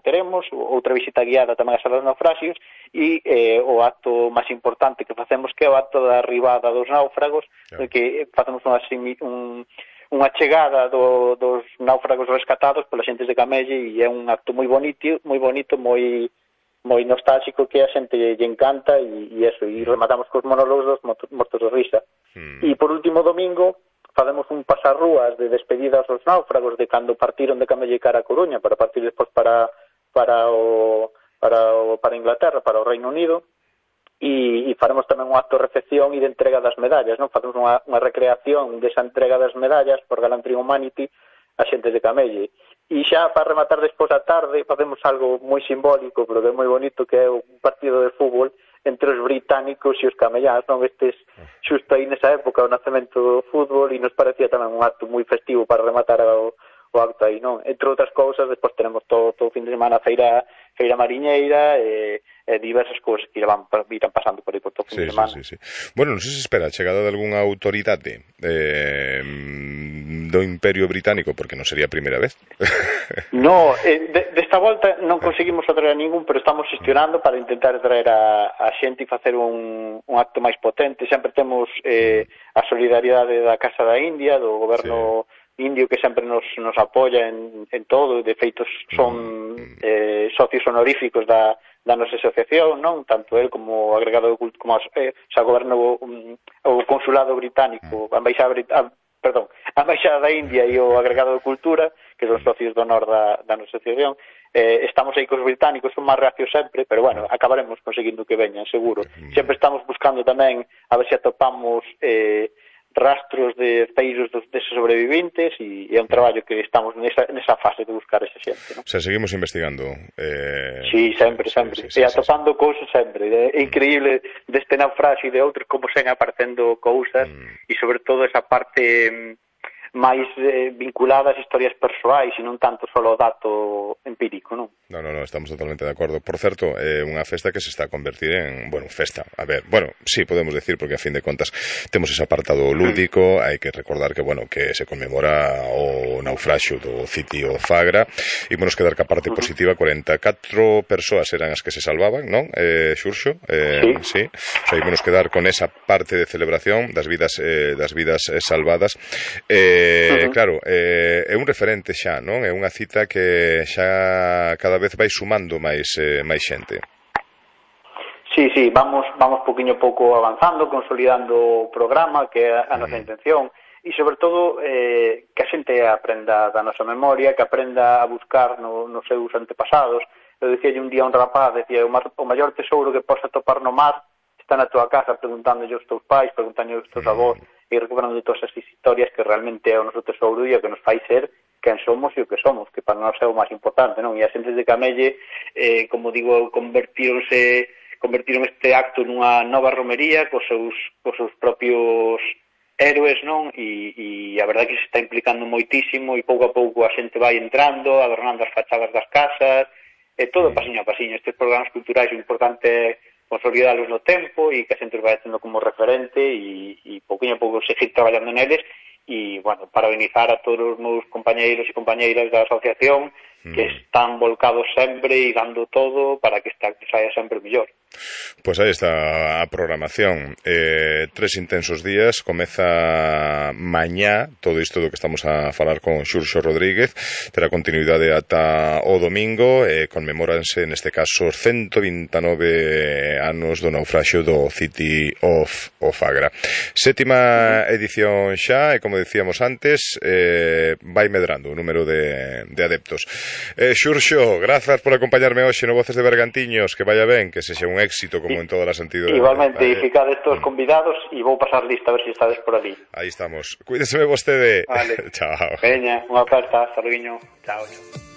teremos, outra visita guiada tamén a salas dos naufraxios, e o acto máis importante que facemos, que é o acto da arribada dos náufragos, que facemos unha chegada dos náufragos rescatados polas xentes de Camelle, e é un acto moi bonito, moi nostálxico, que a xente lle encanta, e rematamos cos monólogos dos mortos de risa. E por último domingo facemos un pasarrúas de despedida aos náufragos de cando partiron de Camelle cara a Coruña para partir despois para Inglaterra, para o Reino Unido, e faremos tamén un acto de recepción e de entrega das medallas, non? Facemos unha recreación desa entrega das medallas por Gallantry Humanity a xente de Camelle. E xa para rematar despois da tarde facemos algo moi simbólico, pero que é moi bonito, que é un partido de fútbol entre os británicos e os camelláns, non? Estes xusto aí nesa época o nacemento do fútbol, e nos parecía tamén un acto moi festivo para rematar o acto aí, non? Entre outras cousas, despois tenemos todo o fin de semana feira mariñeira e diversas cousas que irán pasando por aí por todo o fin de semana. Sí. Bueno, non sei se espera a chegada de algunha autoridade do Imperio Británico, porque non sería a primeira vez. No, desta volta non conseguimos atraer a ningún, pero estamos xestionando para intentar traer a xente e facer un acto máis potente. Sempre temos a solidariedade da Casa da India, do goberno indio, que sempre nos apoia en todo. De feito son socios honoríficos da nosa asociación, non? Tanto el como o agregado de cultura, como o goberno, o consulado británico, a embaixada da India e o agregado de cultura, que son socios do honor da nosa asociación. Estamos aí cos británicos, son máis reacios sempre, pero bueno, acabaremos conseguindo que veñan, seguro. Sempre estamos buscando tamén a ver se atopamos rastros de feiros deses sobreviventes, e é un traballo que estamos nesa fase de buscar esa xente, non? O sea, seguimos investigando. Sí, sempre. E atopando cousas sempre. É increíble deste naufraxio e de outros como sen aparecendo cousas, e sobre todo esa parte máis vinculada ás historias persoais e non tanto só o dato empírico, non? No, estamos totalmente de acordo. Por certo, unha festa que se está a convertir en, festa. A ver, sí, podemos decir, porque a fin de contas temos ese apartado lúdico, hai que recordar que, que se conmemora o naufraxio do City of Agra, e que dar que a parte positiva, 44 persoas eran as que se salvaban, non? Xurxo? Sí. O sea, ímonos quedar con esa parte de celebración das vidas salvadas. Claro, é un referente xa, non? É unha cita que xa cada vez vai sumando máis xente. Sí, vamos poquinho a pouco avanzando, consolidando o programa, que é a nosa intención, e sobre todo que a xente aprenda da nosa memoria, que aprenda a buscar nos seus antepasados. Eu dicíalle un día a un rapaz, o maior tesouro que podes atopar no mar está na tua casa, preguntándolle aos teus pais, preguntándolle aos teus avós, e recuperando todas as historias, que realmente é o noso tesouro e o que nos fai ser quen somos e o que somos, que para nós é o máis importante, non? E as xentes de Camelle, como digo, convertiron este acto nunha nova romería cos seus propios héroes, non? E a verdade é que se está implicando moitísimo, e pouco a pouco a xente vai entrando, adornando as fachadas das casas, todo pasiño a pasiño. Estes programas culturais, o importante é consolidalos no tempo e que a xente os vai tendo como referente, e pouquinho a pouco seguir traballando neles. E, parabenizar a todos os meus compañeiros e compañeiras da asociación, que están volcados sempre e dando todo para que esta saia sempre mellor. Pois aí está a programación. 3 intensos días. Comeza mañá todo isto do que estamos a falar con Xurxo Rodríguez. Terá continuidade ata o domingo. Conmemóranse neste caso 129 anos do naufraxio do City of Agra. 7ª edición xa, e como dicíamos antes, vai medrando o número de adeptos. Xurxo, grazas por acompañarme hoxe no Voces de Bergantiños. Que vaya ben, que sexa un éxito como en todas as entidades. Igualmente, ficades todos convidados, e vou pasar lista a ver se estades por ali. Aí estamos. Cuídeseme vostede. Vale. Chao. Veña, unha aperta, hasta luego. Chao.